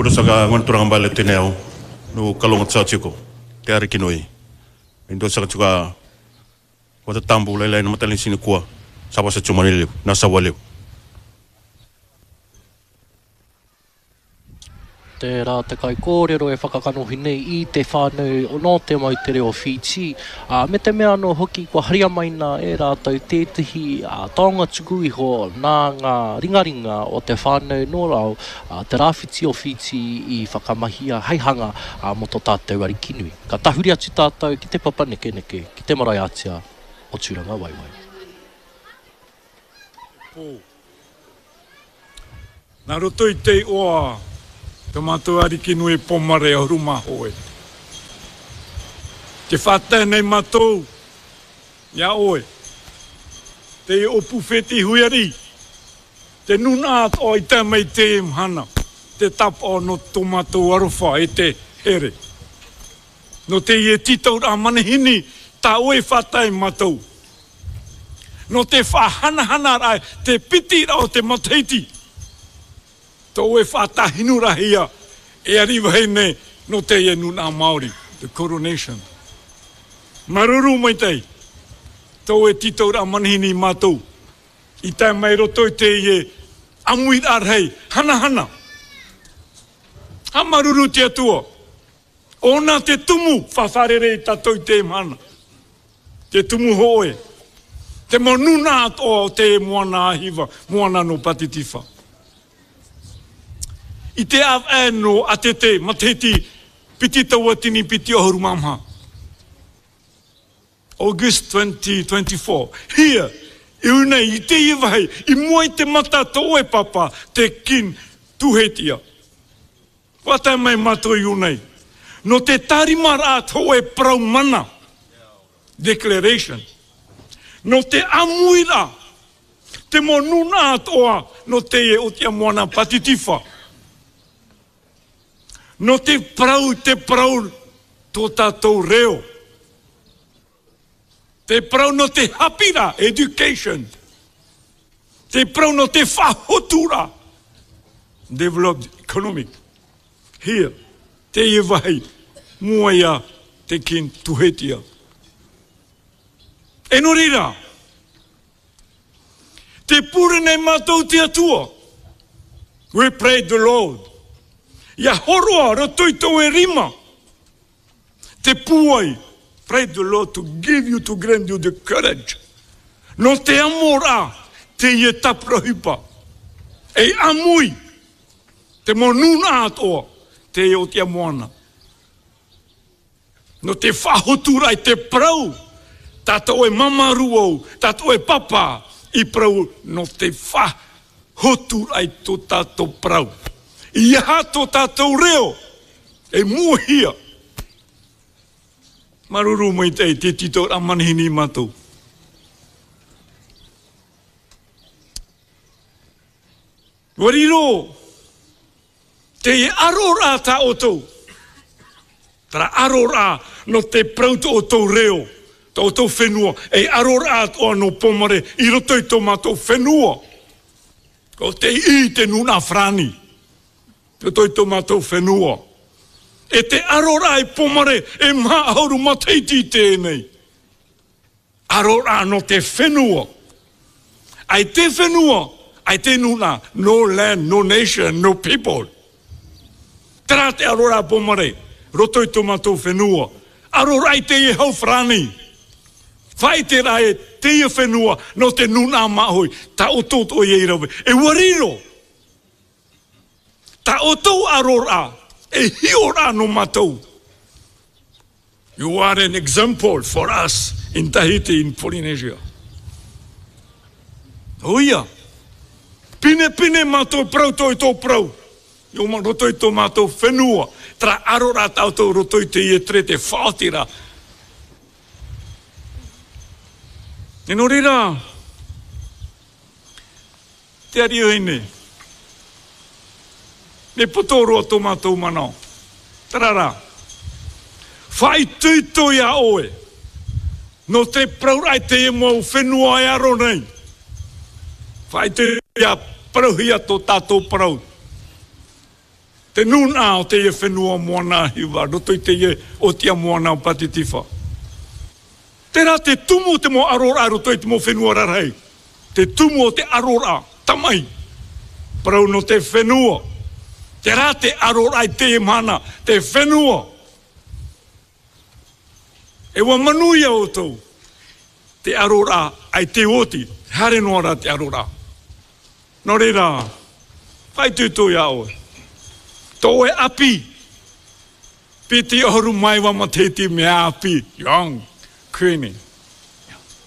Kurosaka ngona mbale teneo no kalonga tsatiko te ariki nui. Indo saka tuka wata tambu lele na matali sini kua saba sa chumanile na sawale. Tērā te kaikōrero e whakakanohi nei i te whānau nō te moutere o Whītī, ā, me te mea anō hoki kua haria mai nā e rātou tētehi taonga tuku iho nā ngā ringaringa o te whānau nō rao te rāwhiti o Whītī i whakamahia hei hanga mō tō tātou Arikinui. Ka tahuri atu tātou ki te papa nekeneke, ki te marae ātea o Tūrangawaewae. Pō. Nā roto i te oa to mātou Ariki nui Pomare o Rumahoe. Te whātai nei mātou i a oe, te opu wheti huiari, te nuna o i tae mai te mhana, te tap o no to mātou arowha e te here. No te ie titau a manahini ta oe whātai mātou. No te whahanahana ra te piti ra o te mataiti, to e whatahinu rahia e ariwahine no te e nuna Maori, the coronation. Maruru mai tai, to e tito ra manihini matou, i tae mai roto i te ie amui ra rei, hanahana. Ha maruru te atua, ona te tumu whawharere i tatou i te mana. Te tumu hoe, te manuna atoa o te moana a Hiva, moana no Patitiwha. I te av no Atete, Mateti, piti taua tini piti o Horumamha. August 2024, Here, i unei, i te iwahei, i mua i te mata to oe papa, te kin tuhetia. Kua tae mai matou i unei. No te tarima ra to e parau mana, declaration. No te amui ra, te mo nuna atoa no te e o tia moana patitiwha. No te parau te parau to tatou reo. Te parau no te hapira, education. Te parau no te whahotura, developed economic. Here, te ie wahi, mua ia te kin tuhetia. E no reira, te pure nei matou te Atua. We pray the Lord. Ia horoa roto i tou e rima. Te puai, pray the Lord to give you, to grant you the courage. No te amo ra, te ie taprahipa. E amui, te mo nuna atoa, te e o te amoana. No te whahotu rai te parau, tatou e mamaru ou, tatou e papa, i parau no te whahotu rai to tatou parau. I aha to tatou reo, E muahia. Maruru mai te te tito a manihini matou. Ua riro te aro ra ta otou. Tara aro ra no te parau to otou reo, to otou whenua, e aro ra toa no Pomare i roto i to matou whenua. Ko te i te nuna whrani. Roto i to matou whenua. E te aro ra e Pomare e Mahauru Mateiti tēnei. Aro ra no te whenua. Ai te whenua, ai te nuna, no land, no nation, no people. Tera te aro ra Pomare, roto i to matou whenua. Aro ra i te ie hau wharani. Whai te ra e te ia whenua no te nuna mahoi, ta oto o i rawe. E ua riro. Ta outou aro ra, e hio ra no matou. You are an example for us in Tahiti, in Polynesia. Oia, pinepine matou parau toi to parau, i o roto i to matou whenua, tara aro ra tatou roto i te ietre te whaoti ra. E no reira, Te Ariohine, Me poto roa tō mātou manao. Tararā. Whāituitui a oe. Nō te parau te emo o whenua e aro nei. Whāituitui a parauhia tō tātou parau. Te nuna o te ia whenua moana hiwa, roto i te ia o tia moana o Patitiwha. Tera te tumu o te mo arora roto i te mo whenua rarahei. Te tumu o te arora, tamai, parau no te whenua. Tera te arora i te mana, te whenua. E wa manuia outou, te arora ai te oti, haere noa ra te arora. No reira, whai tutu i a oe. To oe api, piti oru mai wa mateti me api, young, queenie.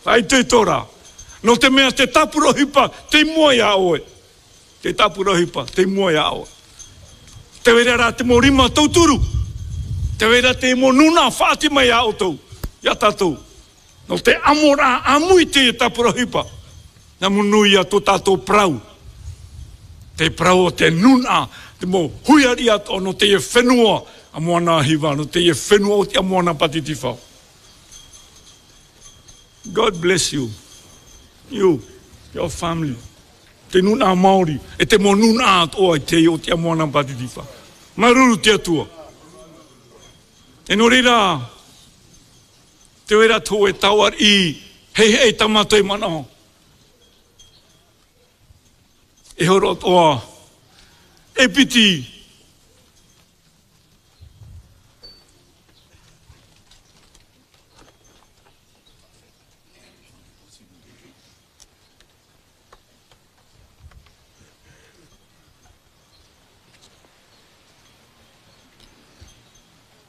Whai tutu ra, no te mea te tapurohipa te mua i a oe. Te tapurohipa te mua i a oe. Te wera ra te mo rima tauturu. Te wera te mo nuna whaati mai a outou, i a tatou. No te amo ra amui te tapurohipa. Na munuia to tatou parau. Te parau o te nuna, te mo huiaria to no te whenua a moana hiwa, no te whenua o te moana patitiwha. God bless you. You, your family. Te nuna Māori, e te mo nuna atoa i te o te moana patitiwha. Maruru te atua. E no reira, te wera tō e tauar i hei hei tamato e manaho. E horo toa, e piti.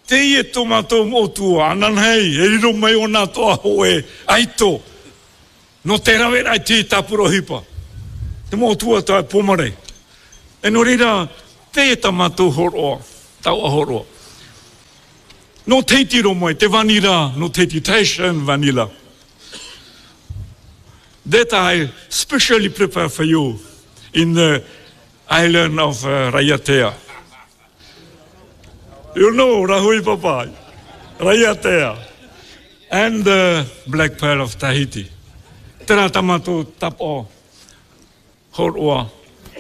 Te ie tō mātou mōtua, anan hei, e riro mai o nā toa hoe aito, no te rawe rai tī tapurohipa, te mōtua tā Pomare. E nō reira, te e tā mātou horoa, taua horoa. Nō teitiro mai, te vanira, nō teiti Tahitian vanilla. That I specially prepare for you in the island of Raiatea. You know, Rahui Papa, Raiatea, and the Black Pearl of Tahiti. Tērā tamato tapo horoa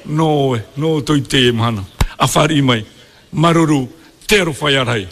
no, no toi te mahana. A whari mai, maruru, te arowhai arai.